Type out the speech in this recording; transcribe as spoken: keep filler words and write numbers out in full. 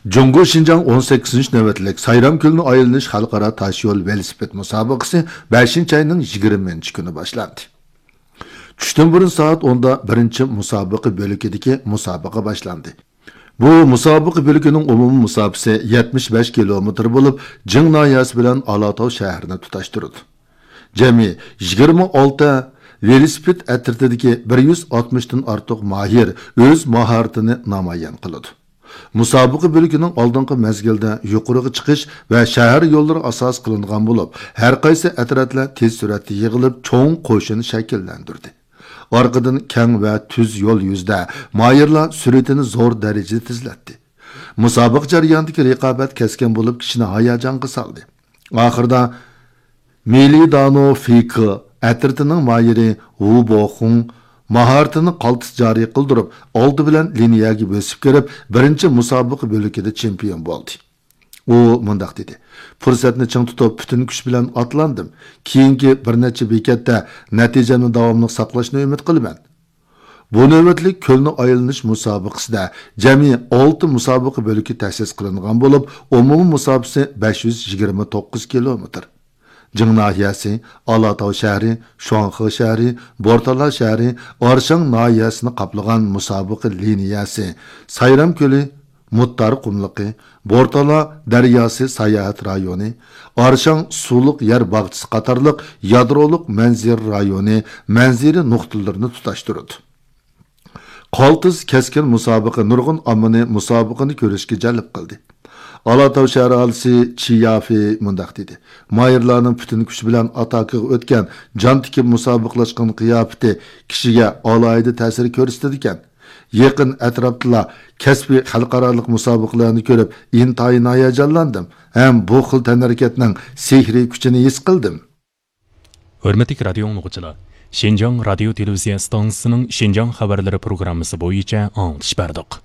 جۇڭگو شىنجاڭ ئون سەككىزىنچى نۆۋەتلىك سايرام كۆلىنى ئايلىنىش خەلقئارا تاشيول ۋېلىسىپىت مۇسابىقىسى بەشىنچى ئاينىڭ يىگىرمىنچى كۈنى باشلاندى. چۈشتىن بۇرۇن سائەت ئوندا بىرىنچى مۇسابىقە بۆلىكىدىكى مۇسابىقە باشلاندى. بۇ مۇسابىقە بۆلىكىنىڭ ئومۇمىي مۇساپىسى يەتمىش بەش كىلومېتىر بولۇپ، جىڭ ناھىيەسى بىلەن ئالاتاۋ شەھىرىنى تۇتاشتۇرىدۇ. جەمئىي يىگىرمە ئالتە ۋېلىسىپىت ئەترىتىدىكى بىر يۈز ئاتمىشتىن ئارتۇق ماھىر ئۆز ماھارىتىنى نامايان قىلىدۇ. مۇسابىقە بۆلىكىنىڭ ئالدىنقى مەزگىلدە يۇقىرىغا چىقىش ۋە شەھەر يوللىرى ئاساس قىلىنغان بولۇپ، ھەر قايسى ئەترەتلەر تېز سۈرئەتتە يىغىلىپ، چوڭ قوشۇن شەكىللەندۈردى. ئارقىدىن كەڭ ۋە تۈز يول يۈزىدە ماھىرلار سۈرئىتىنى زور دەرىجىدە تېزلەتتى. مۇسابىقە جەريانىدىكى رىقابەت كەسكىن بولۇپ، كىشىنى ھاياجانغا سالدى. ئاخىرىدا مىلىدانو فىكې ئەترىتىنىڭ ماھىرى ۋۇ بوخۇڭ ماھارىتىنى قالتىس جارى قىلدۇرۇپ، ئالدى بىلەن لىنىيەگە بۆسۈپ كىرىپ، بىرىنچى مۇسابىقە بۆلىكىدە چېمپىيون بولدى. ئۇ مۇنداق دېدى: «پۇرسەتنى چىڭ تۇتۇپ، پۈتۈن كۈچ بىلەن ئاتلاندىم. كېيىنكى بىر نەچچە بېكەتتە نەتىجەمنى داۋاملىق ساقلاشنى ئۈمىد قىلىمەن.» بۇ نۆۋەتلىك كۆلنى ئايلىنىش مۇسابىقىسىدە جەمئىي ئالتە مۇسابىقە بۆلىكى تەسىس قىلىنغان بولۇپ، ئومۇمىي مۇساپىسى بەش يۈز يىگىرمە توققۇز كىلومېتىر. جىڭ ناھىيەسى، ئالاتاۋ شەھىرى، شۇاڭخې شەھىرى، بورتالا شەھىرى، ئارشاڭ ناھىيەسىنى قاپلىغان مۇسابىقە لىنىيەسى، سايرام كۆلى، مۇتتار قۇملۇقى، بورتالا دەرياسى ساياھەت رايونى، ئارشاڭ سۇلۇق يەر باغچىسى قاتارلىق يادرولۇق مەنزىرە رايونى، مەنزىرە نۇقتىلىرىنى تۇتاشتۇرىدۇ. قالتىس كەسكىن مۇسابىقە نۇرغۇن ئاممىنى مۇسابىقىنى كۆرۈشكە جەلپ قىلدى. ئالاتاۋ شەھەر ئاھالىسى چى يافېي مۇنداق دېدى: «ماھىرلارنىڭ پۈتۈن كۈچى بىلەن ئاتاكىغا ئۆتكەن، جان تىكىپ مۇسابىقىلەشكەن قىياپىتى كىشىگە ئالاھىدە تەسىر كۆرسىتىدىكەن. يېقىن ئەتراپتىلا كەسپىي خەلقئارالىق مۇسابىقىلەرنى كۆرۈپ، ئىنتايىن ھاياجانلاندىم ھەم بۇ خىل تەنھەرىكەتنىڭ سېھرىي كۈچىنى ھېس قىلدىم.» ھۆرمەتلىك رادىيو ئاڭلىغۇچىلار، شىنجاڭ رادىيو تېلېۋىزىيە ئىستانسىسىنىڭ شىنجاڭ خەۋەرلىرى پروگراممىسى بويىچە ئاڭلىتىش بەردۇق.